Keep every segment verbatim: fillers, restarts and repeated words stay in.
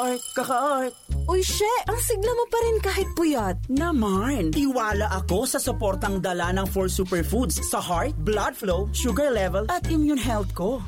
Art ka ka, art. Uy, she! Ang sigla mo pa rin kahit puyat. Naman! Tiwala ako sa suportang dala ng four superfoods sa heart, blood flow, sugar level, at immune health ko.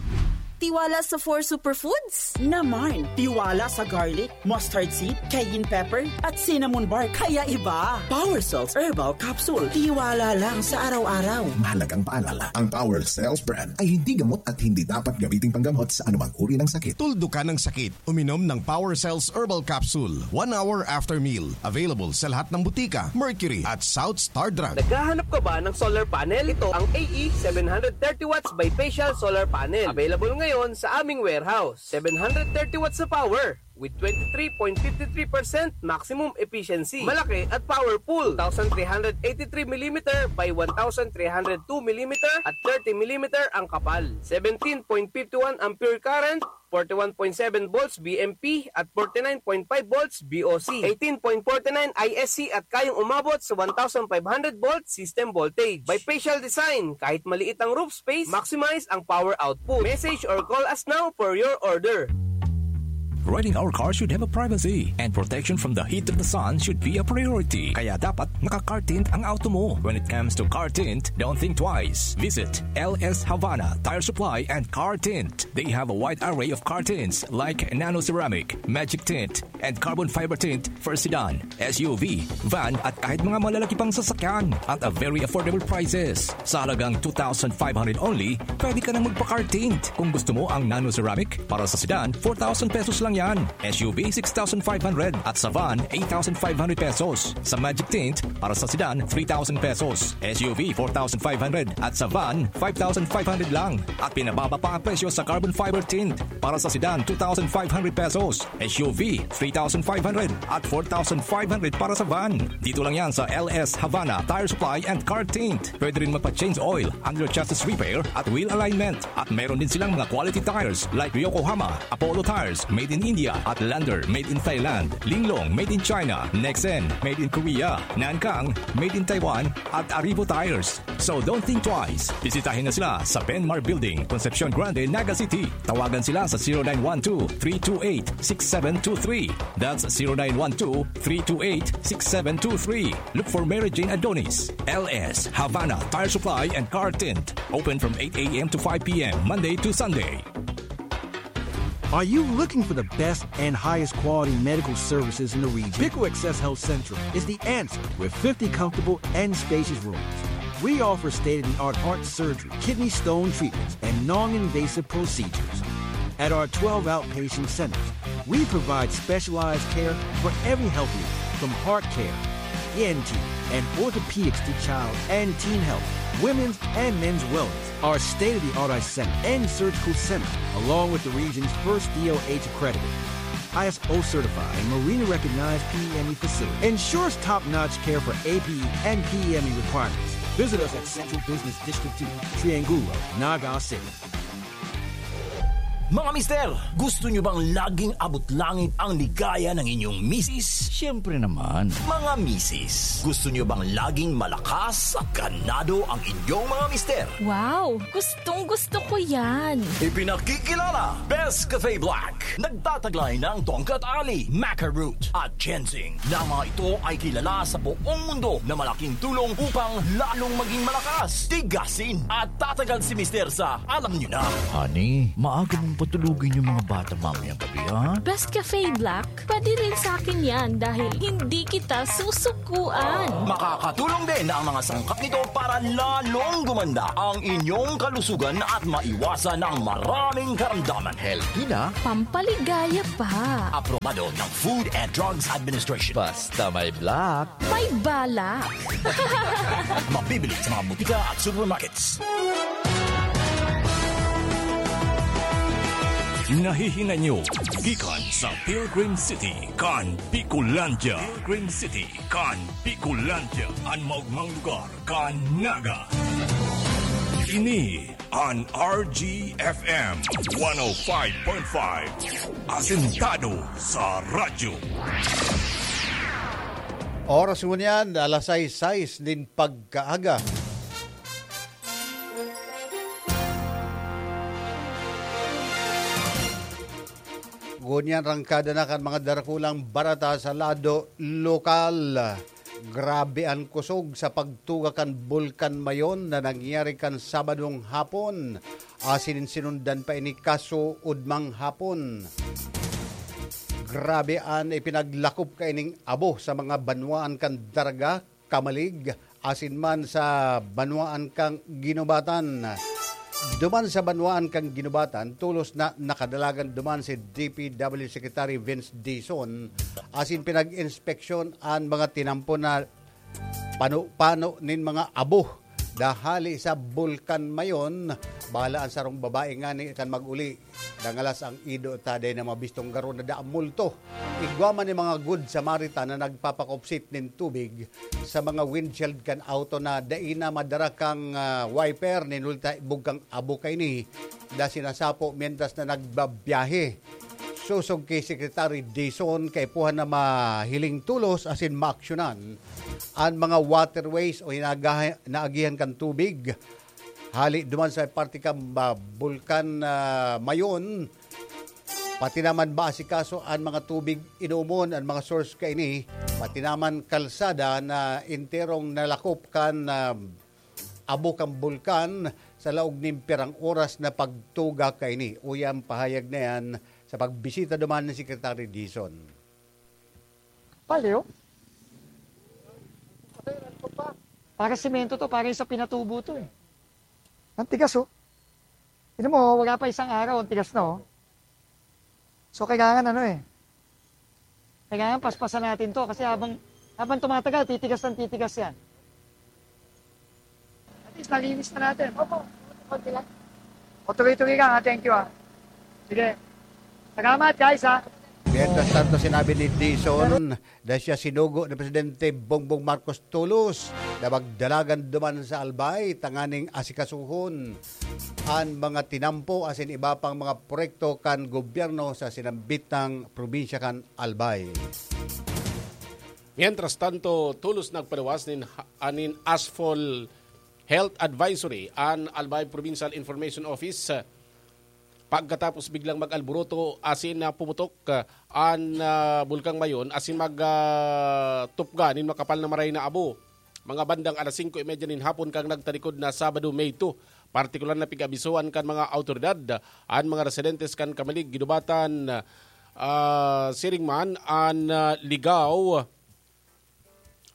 Tiwala sa four superfoods? Naman! Tiwala sa garlic, mustard seed, cayenne pepper, at cinnamon bark. Kaya iba! Power Cells Herbal Capsule. Tiwala lang sa araw-araw. Mahalagang paalala, ang Power Cells brand ay hindi gamot at hindi dapat gamitin panggamot sa anumang uri ng sakit. Tuldukan ang sakit. Uminom ng Power Cells Herbal Capsule one hour after meal. Available sa lahat ng butika, Mercury at South Star Drug. Naghahanap ka ba ng solar panel? Ito ang A E seven hundred thirty watts bifacial solar panel. Available ngayon sa aming warehouse. Seven hundred thirty watts na power with twenty-three point fifty-three percent maximum efficiency. Malaki at powerful. Two thousand three hundred eighty-three millimeter by one thousand three hundred two millimeter at thirty millimeter ang kapal. Seventeen point fifty-one ampere current, forty-one point seven volts B M P at forty-nine point five volts B O C, eighteen point forty-nine I S C at kayang umabot sa one thousand five hundred volt system voltage. Bifacial design, kahit maliit ang roof space, maximize ang power output. Message or call us now for your order. Riding our car should have a privacy, and protection from the heat of the sun should be a priority. Kaya dapat naka-car tint ang auto mo. When it comes to car tint, don't think twice. Visit L S Havana Tire Supply and Car Tint. They have a wide array of car tints like nano ceramic, magic tint, and carbon fiber tint for sedan, S U V, van, at kahit mga malalaki pang sasakyan at a very affordable prices. Sa halagang two thousand five hundred only, pwede ka nang magpa-car tint. Kung gusto mo ang nano ceramic, para sa sedan, four thousand pesos lang yan. S U V, six thousand five hundred, at sa van, eight thousand five hundred pesos. Sa magic tint, para sa sedan, three thousand pesos. S U V, four thousand five hundred, at sa van, five thousand five hundred lang. At pinababa pa ang presyo sa carbon fiber tint. Para sa sedan, two thousand five hundred pesos. S U V, three thousand five hundred at four thousand five hundred para sa van. Dito lang yan sa L S Havana Tire Supply and Car Tint. Pwede rin magpa-change oil, under chassis repair at wheel alignment. At meron din silang mga quality tires like Yokohama, Apollo Tires, made in India, at Lander, made in Thailand, Linglong, made in China, Nexen, made in Korea, Nankang, made in Taiwan, at Arrivo Tires. So don't think twice. Bisitahin na sila sa Benmar Building, Concepcion Grande, Naga City. Tawagan sila sa zero nine one two, three two eight, six seven two three. That's zero nine one two, three two eight, six seven two three. Look for Mary Jane Adonis. L S Havana Tire Supply and Car Tint. Open from eight a m to five p m, Monday to Sunday. Are you looking for the best and highest quality medical services in the region? Pico Access Health Central is the answer with fifty comfortable and spacious rooms. We offer state-of-the-art heart surgery, kidney stone treatments, and non-invasive procedures. At our twelve outpatient centers, we provide specialized care for every health need, from heart care, E N T, and orthopedics to child and teen health, women's and men's wellness. Our state-of-the-art eye center and surgical center, along with the region's first D O H accredited, I S O certified, and Marina recognized P M E facility, ensures top-notch care for A P E and P M E requirements. Visit us at Central Business District two, Triangulo, Naga City. Mga mister, gusto nyo bang laging abot langit ang ligaya ng inyong misis? Siyempre naman. Mga misis, gusto nyo bang laging malakas at ganado ang inyong mga mister? Wow! Gustong gusto ko yan! Ipinakikilala, Best Cafe Black. Nagtataglay ng tongkat ali, maca root, at ginseng, na mga ito ay kilala sa buong mundo na malaking tulong upang lalong maging malakas, tigasin, at tatagal si mister sa alam nyo na. Honey, maaga mong patulugin yung mga bata mamayang gabi, ha? Best Cafe Black, pwede rin sa akin yan dahil hindi kita susukuan. Makakatulong din ang mga sangkap nito para lalong gumanda ang inyong kalusugan at maiwasan ang maraming karamdaman. Healthy na. Pampaligaya pa. Aprobado ng Food and Drugs Administration. Basta may black. May balak. Mabibili sa mga butika at supermarkets. Nahihinay nyo, gikan sa Pilgrim City, kan Bicolandia. Pilgrim City, kan Bicolandia. An maugmang lugar kan Naga. Ini an R G F M one oh five point five. Asentado sa radyo. Oras ngunyan, alas sais, sais nin pagkaaga. Ngunyan, rangkada na kan mga darakulang barata sa lado lokal. Grabe an kusog sa pagtuga kan Bulkan Mayon na nangyari kan Sabadong hapon, asin sinundan pa ini kasuodmang hapon. Grabe an ipinaglakop kaining abo sa mga banwaan kan Daraga, Camalig, asin man sa banwaan kan Guinobatan. Duman sa banwaan kan Guinobatan, tolos na nakadalagan duman si D P W Secretary Vince Dizon, asin pinag-inspeksyon an mga tinampo na pano-pano nin mga abo na hali sa Bulkan Mayon. Bahala an sarong babae ngani kan mag-uli. Dangalas an ido ta, dai na mabistong garo na dai multo. Igwa man ni mga Good Samaritan na nagpapakupsit nin tubig sa mga windshield kan auto na dai na madara kan, ah, wiper, nin ulta bugkang abo kaini na sinasapo mientras na nagbabiyahe. Sosog ki Secretary Dizon, kaipuhan na mahiling tolos asin maaksyonan an mga waterways o inagaha-, naagihan kan tubig hali duman sa parte kan, ah, Bulkan, ah, Mayon, pati naman maasikaso an mga tubig inomon, an mga source kaini, pati naman kalsada na enterong nalakop kan, ah, abo kan bulkan sa laog nin pirang oras na pagtuga kaini. Uya an pahayag na yan sa pagbisita duman ni Secretary Dizon. Paleo? Para semento to, para yung sa pinatubo to eh. Ang tigas, oh. Tignan mo, wala pa isang araw, ang tigas na, oh. So, kailangan ano eh. Kailangan paspasan natin to kasi habang, habang tumatagal, titigas ng titigas yan. At least, nalinis na natin. Opo, konti lang. O, tuloy-tuloy lang, ha? Thank you, ha. Sige. Salamat, guys, ha. Mientras tanto, sinabi ni Dizon na siya sinugo ni Presidente Bongbong Marcos tolos na magdalagan duman sa Albay tanganing asikasuhon an mga tinampo asin iba pang mga proyekto kan gobyerno sa sinambitang probinsya kan Albay. Mientras tanto, tolos nagpaluwas nin, anin ASFOL Health Advisory an Albay Provincial Information Office, pagkatapos biglang mag-alboroto asin, ah, pumutok, ah, an, ah, Bulkang Mayon asin mag, ah, tupga nin makapal na maray na abo. Mga bandang alas singko y media nin hapon kan nagtalikod na Sabado, May two, partikular na pig-abisohan kan mga awtoridad an mga residentes kan Camalig, Guinobatan, ah, siring man an, ah, Ligao,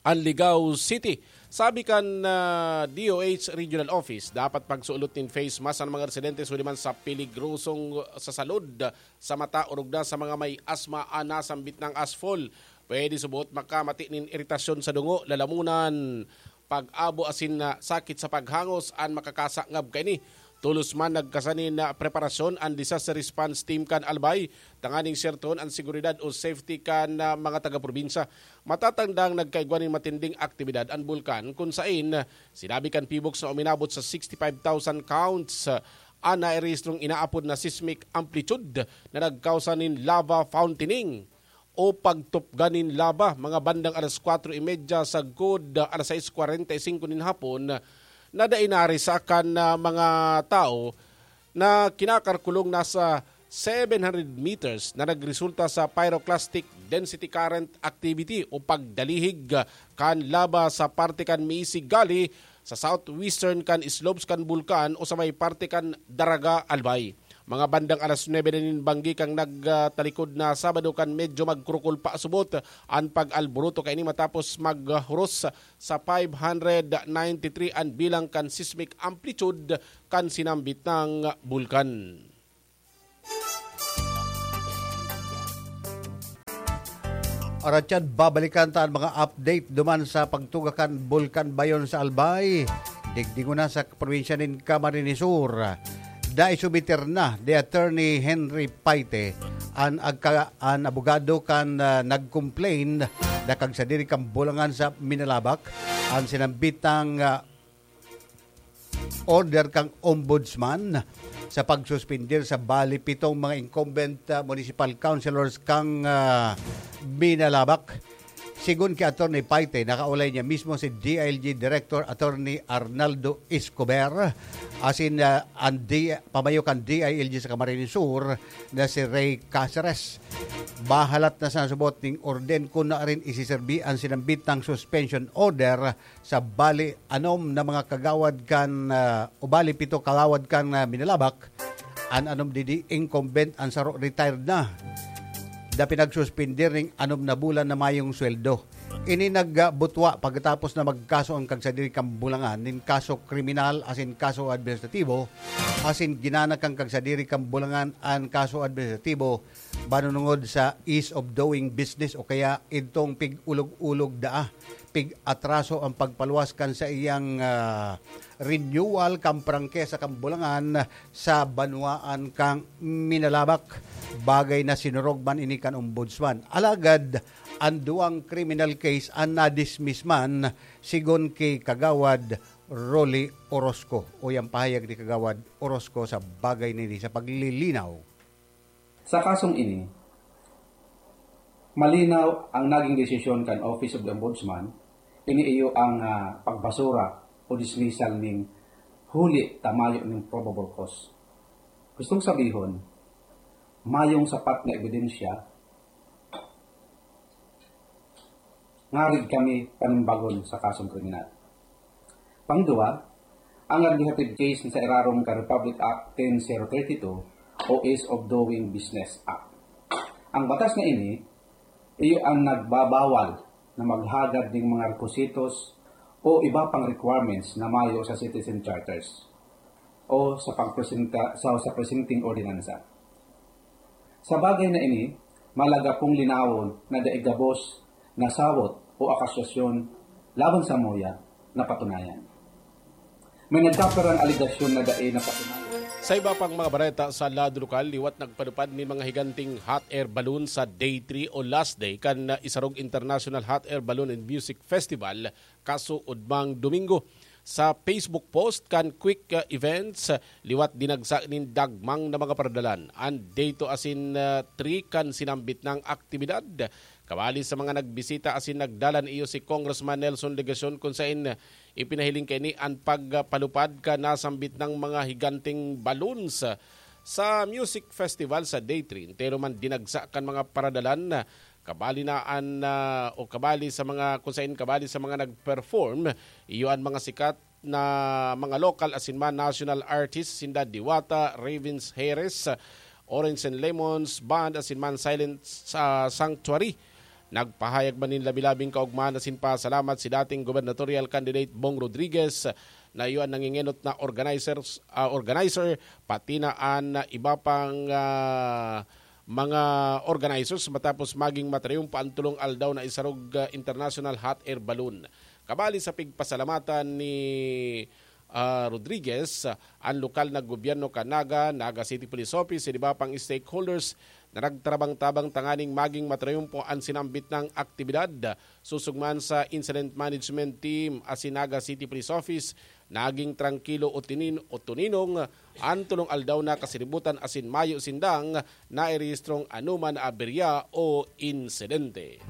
an Ligao City. Sabi kan, ah, D O H Regional Office, dapat pagsuolot nin face mask an mga residentes huli man sa peligrosong sa salud, sa mata, orog na sa mga may asma an nasambit nang ASFOL. Pwede subot makamati nin iritasyon sa dungo, lalamunan, pag-abo asin na sakit sa paghangos an makakasangab kaini. Tolos man nagkasa nin, ah, preparasyon an Disaster Response Team kan Albay tanganing sertohon an seguridad o safety kan, ah, mga taga-probinsya. Matatandang nagkaigwa nin matinding aktibidad an bulkan, kun saen, ah, sinabi kan PHIVOLCS na uminabot sa sixty-five thousand counts, ah, an nairehistrong inaapod na seismic amplitude na nagkausa nin lava fountaining o pagtupgan nin laba mga bandang alas kwatro y media sagkod, ah, alas sais kwarenta y singko nin hapon, na dai narisa kan, ah, mga tawo na kinakalkulong nasa seven hundred meters na nagresulta sa pyroclastic density current activity o pagdalihig, ah, kan laba sa parte kan Miisig Gully sa southwestern kan slopes kan bulkan o sa may parte kan Daraga, Albay. Mga bandang alas nuebe na nin banggi kan nagtalikod na Sabado kan medyo magkurukol pa subot an pag-alboroto kaini matapos maghuros sa five hundred ninety-three an bilang kan seismic amplitude kan sinambit nang bulkan. Oratyan, babalikan ta an mga update duman sa pagtuga kan Bulkan Bayon sa Albay. Digdi ngona sa probinsya nin Camarines Sur. Dai sumitir na ni Attorney Henry Paite an agka-, an abogado kan, ah, nag-complain na kagsadiri kan bulangan sa Minalabac an sinambitang, ah, order kan Ombudsman sa pagsuspender sa bali pitong mga incumbent, ah, municipal councilors kan, ah, Minalabac. Tigon ki Attorney Paite, nakaulay niya mismo si D I L G Director Attorney Arnaldo Escobar, asin, ah, an D-, pamayo kan D I L G sa Camarines Sur na si Ray Caceres. Bahalat na sa nasubot ning orden kun na rin isiserbi an sinambit ng suspension order sa bali anom na mga kagawad kan, ah, o bali pito kagawad kan, ah, Minalabak. An anom didi incumbent, an saro retired na. Da pinagsuspender ning anom na bulan na mayong sweldo. Ini nagbutwa pagkatapos na magkaso ang kagsadiri kan Bulangan nin kaso kriminal asin kaso administratibo, asin ginanak kan kagsadiri kan Bulangan an kaso administratibo banunungod sa ease of doing business o kaya idtong pig-ulog-ulog daa, pig-atraso ang pagpaluwas kan saiyang, ah, renewal kan prangkesa kan Bulangan sa banwaan kan Minalabak. Bagay na sinurog man ini kan Ombudsman. Alagad, an duwang criminal case an na-dismiss man, sigon ki Kagawad Rolly Orozco. O yang pahayag ni Kagawad Orozco sa bagay na ini sa paglilinaw. Sa kasong ini, malinaw ang naging desisyon kan Office of the Ombudsman, ini iyo ang, ah, pagbasura o dismissal ning huli ta mayo ning probable cause. Gustong sabihon, mayong sapat na ebidensya ngarig kami panimbagon sa kasong kriminal. Pangduwa, ang administrative case sa irarom kan Republic Act ten zero thirty-two o Ease of Doing Business Act. Ang batas na ini, iyo ang nagbabawal na maghagad ning mga requisitos o iba pang requirements na mayo sa citizen charters o sa pagpresenta, sa, sa presenting ordinansa. Sa bagay na ini, malaga pong linawon na dai gabos na sawot o akusasyon laban sa muya napatunayan. May nagkapirang alegasyon na dai napatunayan. Sa iba pang mga bareta sa lado lokal, liwat nagpatupad nin mga higanting hot air balloon sa Day three o last day kan Isarog International Hot Air Balloon and Music Festival, kasuodmang Domingo. Sa Facebook post kan Quick, uh, Events, uh, liwat dinagsa nin dagmang na mga paradalan an Day two asin, uh, three kan sinambit nang aktibidad. Kabali sa mga nagbisita asin nagdalan iyo si Congressman Nelson Legacion, kun saen, uh, ipinahiling kaini an pagpalupad kan nasambit nang mga higanting balloons, uh, sa music festival sa Day three. Entero man dinagsa kan mga paradalan, uh, kabali na an, ah, o kabali sa mga, kung saen kabali sa mga nag-perform, iyo an mga sikat na mga local asin man national artists, sinda Diwata, Ravens Harris, Orange and Lemons Band, asin man Silent sa Sanctuary. Nagpahayag man nin labi-labing kaogmahan asin pasalamat si dating gubernatorial candidate Bong Rodriguez, na iyo an nangengenot na organizers, ah, organizer, pati na an iba pang, ah, mga organizers matapos maging matrayumpo an tolong aldaw na Isarog, ah, International Hot Air Balloon. Kabali sa pigpasalamatan ni, ah, Rodriguez, ah, an lokal na gobyerno kan Naga, Naga City Police Office, asin iba pang stakeholders na nagtabang-tabang tanganing maging matrayumpo an sinambit nang aktibidad. Susog man sa Incident Management Team asin Naga City Police Office, naging trangkilo o tinin-, o tuninong an tolong aldaw na kasiributan asin mayo sindang nairehistrong anoman na aberya o insidente.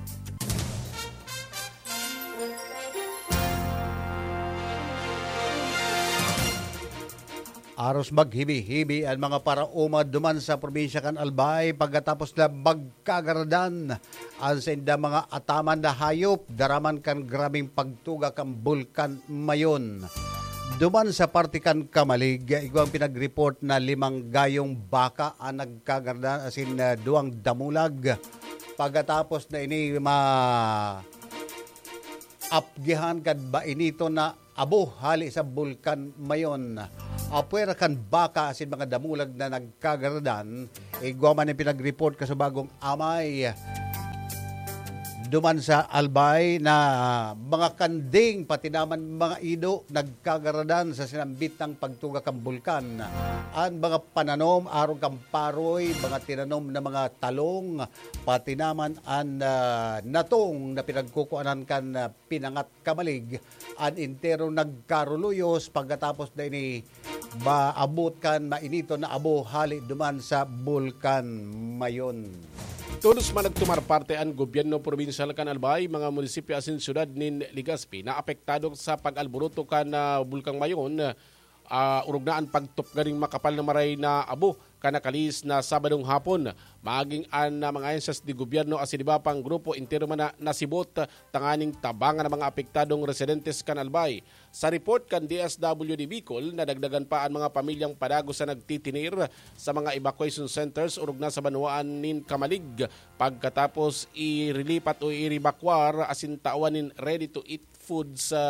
Aros maghibi-hibi an mga paraoma duman sa probinsya kan Albay pagkatapos na magkagaradan an saindang mga ataman na hayop daraman kan grabeng pagtuga kan Bulkan Mayon. Duman sa parte kan Camalig, igwang pinag-report na limang gayong baka an nagkagaradan asin, ah, duwang damulag. Pagkatapos na ini ma-, apgihan kan bainiton na abo hale sa Bulkan Mayon. Apwera kan baka asin mga damulag na nagkagaradan, igwa man an pinag-report kasubagong amay duman sa Albay na mga kanding, pati naman mga ido, nagkagaradan sa sinambit nang pagtuga kan bulkan. An mga pananom, arog kan paroy, mga tinanom na mga talong, pati naman an, ah, natong na pinagkukuanan kan, ah, pinangat kamalig, an entero nagkaruluyos pagkatapos na ini maabot kan mainiton na abo hale duman sa Bulkan Mayon. Todos man nagtumar parte an gobyerno probinsyal kan Albay, mga munisipyo asin syudad nin Legazpi na apektado sa pag-alboroto kan, ah, Bulkang Mayon, ah, orog na an pagtupga nin makapal na maray na abo kan nakalihis na Sabadong hapon. Maging an, ah, mga ahensyas de gobyerno asin iba pang grupo entero man na nasibot tanganing tabangan ang mga apektadong residentes kan Albay. Sa report kan D S W D Bicol, nadagdagan pa an mga pamilyang padagos na nagtitinir sa mga evacuation centers orog na sa banwaan nin Camalig, pagkatapos irilipat o irebakwar asin tawan nin ready-to-eat food sa,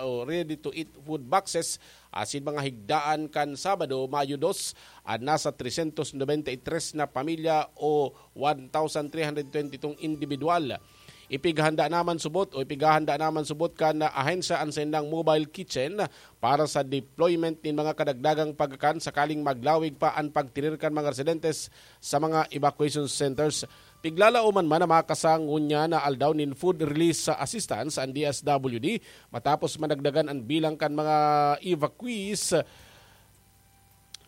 o ready-to-eat food boxes asin mga higdaan kan Sabado, Mayo dos, an nasa tresyentos nobenta y tres na pamilya o one thousand three hundred twenty-two individual. Ipighanda naman subot o ipighahanda naman subot kan ahensya an saindang mobile kitchen para sa deployment nin mga kadagdagang pagkakan sakaling maglawig pa an pagtirir kan mga residentes sa mga evacuation centers. Piglalaoman man na makasa ngunyan na aldaw nin food release assistance an D S W D matapos madagdagan an bilang kan mga evacuees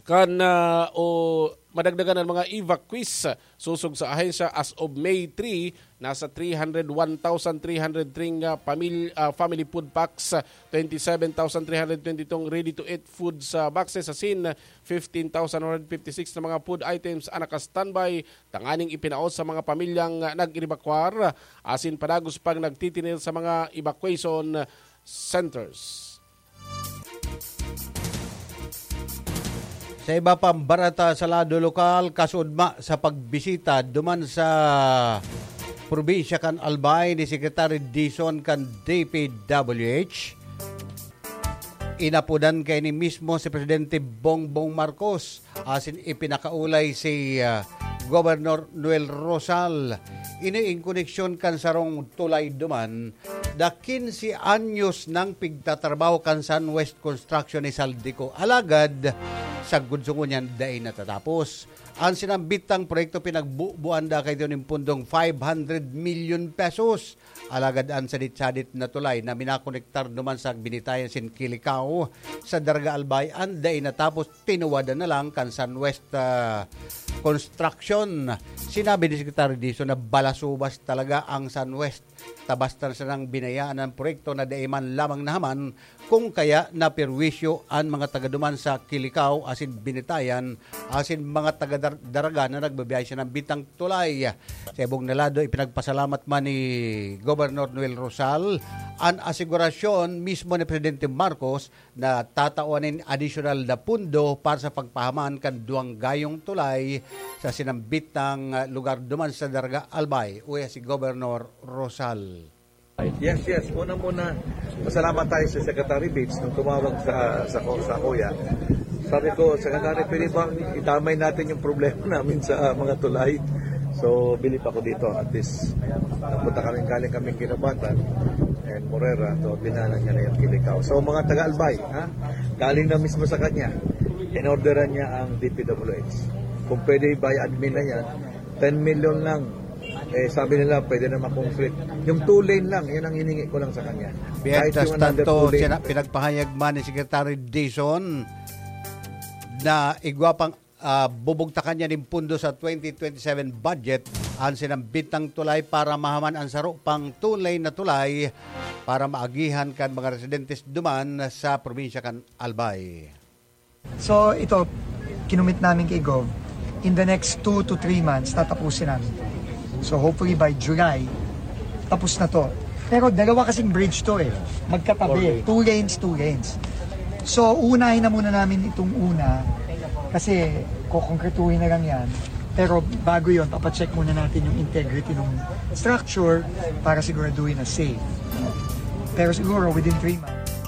kan, ah, o madagdagan an mga evacuees. Sosog sa ahensya, as of May three, nasa three hundred one thousand three hundred three nga pamil-, ah, family food packs, twenty-seven thousand three hundred twenty-two ready-to-eat food sa boxes, asin fifteen thousand one hundred fifty-six na mga food items ang naka-standby tanganing ipinaos sa mga pamilyang nag-evakuar asin padagos pang nagtitinir sa mga evacuation centers. Sa iba pang bareta sa lado lokal, kasudma sa pagbisita duman sa probinsya kan Albay ni Secretary Dizon kan D P W H, inapodan kaini mismo si Presidente Bongbong Marcos asin ipinakaulay si, ah, Governor Noel Rosal. Ini in koneksyon kan sarong tulay duman na quince anyos nang pigtatrabaho kan Sunwest Construction ni Zaldy Co. Alagad, sagkod sa ngunyan, dai natatapos. An sinambitang proyekto pinagbubuan da kaidto nin pundong five hundred million pesos. Alagad an sadit-sadit na tulay na minakonektar duman sa Binitayan asin Kilicao sa Daraga Albay an dai natapos, tinuwadan na lang kan Sunwest, ah, Construction. Sinabi ni Secretary Dizon na balasubas talaga ang Sunwest. Ta basta na sanang binayaan an proyekto na dai man lamang nahaman, kung kaya naperwisyo an mga taga duman sa Kilicao asin Binitayan asin mga taga Dar-, Daraga na nagbabiyahe sa nambitang tulay. Sa ibong na lado, ipinagpasalamat man ni Governor Noel Rosal an asigurasyon mismo ni Presidente Marcos na tatawan nin adisyonal na pundo para sa pagpahaman kan duwang gayong tulay sa sinambitang, ah, lugar duman sa Daraga Albay, uya si Governor Rosal. Yes, yes. Una muna, pasalamat tayo sa Secretary Bates nung tumawag sa, sa, ko- sa kuya. Sabi ko, "Secretary, pwede bang itamay natin yung problema namin sa, ah, mga tulay?" So, bilib ako dito. At least, napunta kami, galing kaming Guinobatan and Morera. So, dinala niya na yung Kilicao. So, mga taga-Albay, ha? Galing na mismo sa kanya. Inorderan niya ang D P W H. Kung pwede, by admin na yan. Ten million lang. Eh, sabi nila, pwede na ma-concrete. Yung two lane lang, yan ang hiningi ko lang sa kanya. Kahit Mientras yung another tanto, two lane. Sina-, pinagpahayag man ni Secretary Dizon na igwa pang, ah, bubugtakan niya nin pundo sa twenty twenty-seven budget ang sinambitang tulay para mahaman ang saro pang two lane na tulay para maagihan kan mga residentes duman sa probinsya kan Albay. So, ito, kinumit namin kay Gov, in the next two to three months, tatapusin namin. So, hopefully by July, tapos na to. Pero dalawa kasing bridge to eh. Magkatabi. Four lanes. Two lanes, two lanes. So, uunahin na muna namin itong una kasi kokongkretuhin na lang yan. Pero bago yon, papacheck muna natin yung integrity ng structure para siguraduhin na safe. Pero siguro within three months.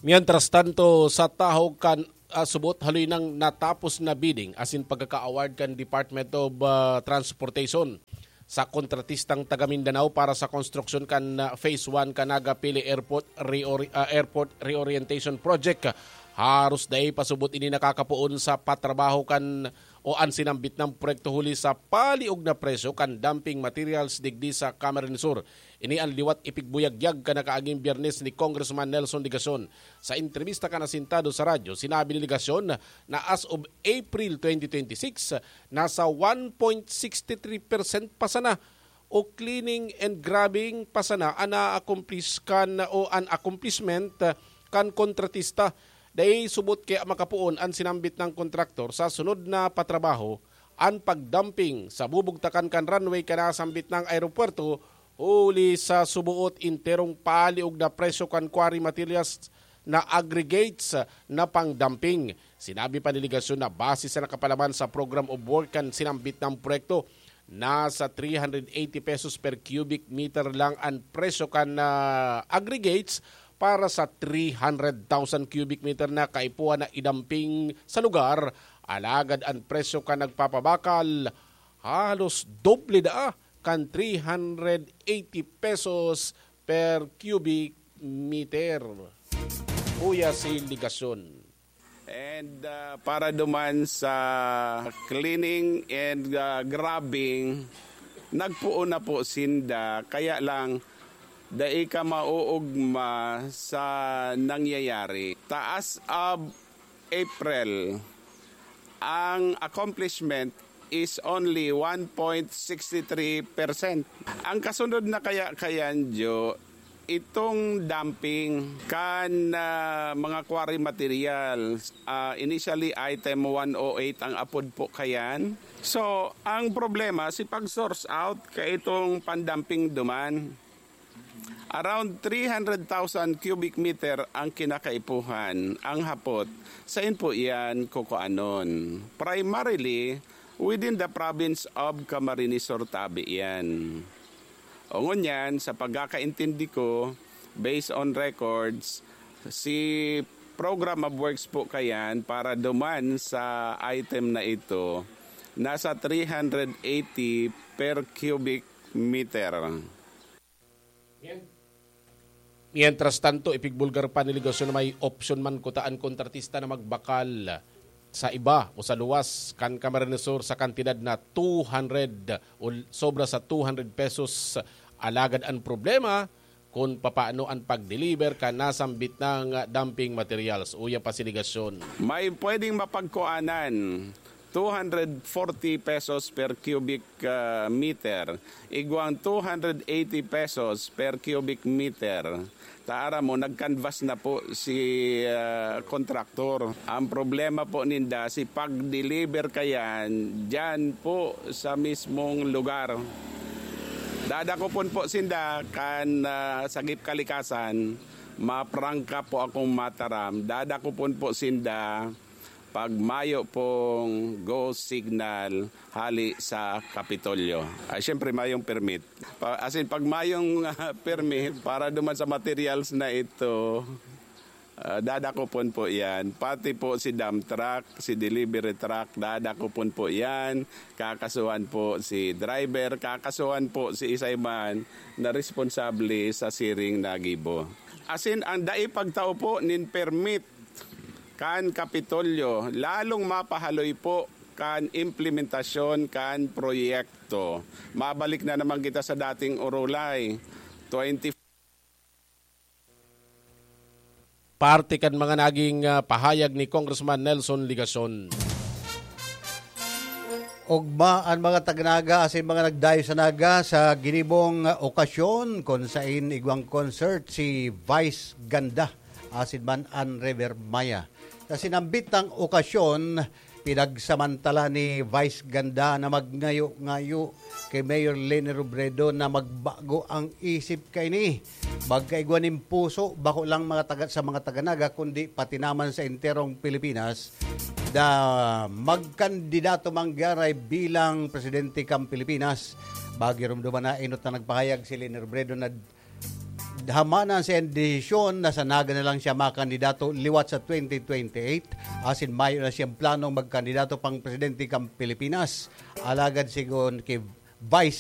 Mientras tanto, sa tahaw kan, ah, subot, haloy nang natapos na bidding asin pagkaka-award kan Department of, ah, Transportation sa kontratistang taga Mindanao para sa konstruksyon kan, ah, Phase one kan Naga Pili Airport Reori-, ah, Airport Reorientation Project. Haros dai pa subot ini nakakapoon sa patrabaho kan o an sinambit nang proyekto huli sa paliog na presyo kan dumping materials digdi sa Camarines Sur. Ini an liwat ipigbuyagyag kan nakaaging Biyernes ni Congressman Nelson Legacion. Sa entrevista kan Asintado sa radyo, sinabi ni Legacion na as of April twenty twenty-six, nasa one point six three percent pa sana o cleaning and grubbing pa sana an na-accomplish kan o an accomplishment kan kontratista. Dai subot kaya makapoon an sinambit nang kontraktor sa sunod na patrabaho, an pagdumping sa bubugtakan kan runway kan nasambit nang aeropuerto, huli sa suboot enterong paliog na presyo kan quarry materials na aggregates na pang-dumping. Sinabi pa ni Legacion na base sa nakapalaman sa program of work kan sinambit nang proyekto, nasa three hundred eighty pesos per cubic meter lang an presyo kan, ah, aggregates para sa three hundred thousand cubic meter na kaipuhan na idamping sa lugar. Alagad an presyo kan nagpapabakal halos doble daa kan three hundred eighty pesos per cubic meter. Uya si Legacion. And, ah, para duman sa cleaning and, ah, grubbing, nagpoon na po sinda. Kaya lang, dai ka mauugma sa nangyayari. Taas ab April, ang accomplishment is only one point six three percent. Ang kasunod na kaya kayan, Jo, itong dumping kan, ah, mga quarry materials. Ah, initially, item one oh eight ang apod po kayan. So, ang problema, si pag-source out ka itong pandumping duman. Around three hundred thousand cubic meter ang kinakaipuhan, ang hapot. Sain po iyan kukuanon? Primarily, within the province of Camarines Sur tabi iyan. O ngunyan, sa pagkakaintindi ko, based on records, si program of works po kayan para duman sa item na ito, nasa three hundred eighty per cubic meter. Mientras tanto, ipigbulgar pa ni Legacion na may opsyon man kuta an kontratista na magbakal sa iba o sa luwas kan Camarines Sur sa kantidad na two hundred o sobra sa two hundred pesos. Alagad an problema, kun papaano an pag-deliver kan nasambit nang dumping materials. Uya pa si Legacion. May pwedeng mapagkuanan, two hundred forty pesos per cubic, ah, meter, igwang two hundred eighty pesos per cubic meter. Ta aram mo, nag-canvas na po si, ah, kontraktor. Ang problema po ninda, si pag-deliver kayan, diyan po sa mismong lugar. Dadakopon po sinda kan, ah, sagip kalikasan, maprangka po akong mataram. Dadakopon po sinda pag mayo pong go signal hali sa Kapitolyo. Ay, siyempre, mayong permit. Pa-, as in, pag mayong, ah, permit para duman sa materials na ito, ah, dadakopon po yan. Pati po si dump truck, si delivery truck, dadakopon po yan. Kakasuhan po si driver, kakasuhan po si isay man na responsable sa siring na gibo. As in, ang dai pagtao po nin permit kan Kapitolyo, lalong mapahaloy po kan implementasyon kan proyekto. Mabalik na naman kita sa dating orolay, twenty. Parte kan mga naging, ah, pahayag ni Congressman Nelson Legacion. Ogma an mga taga-Naga asin mga nagdayo sa Naga sa ginibong okasyon kun sain igwang concert si Vice Ganda asin man an River Maya. Sa sinambitang okasyon, pinagsamantala ni Vice Ganda na magngayo-ngayo ki Mayor Leni Robredo na magbago ang isip kaini. Magkaigwa nin puso, bako lang mga taga, sa mga taga-Naga, kundi pati naman sa enterong Pilipinas, na magkandidato man gyaray bilang presidente kan Pilipinas. Magirumduman na enot na nagpahayag si Leni Robredo na hamanan sa iyang desisyon na sa Naga na lang siya makandidato liwat sa twenty twenty-eight, asin mayo na siyang planong magkandidato pang presidente kan Pilipinas. Alagad sigon ki Vice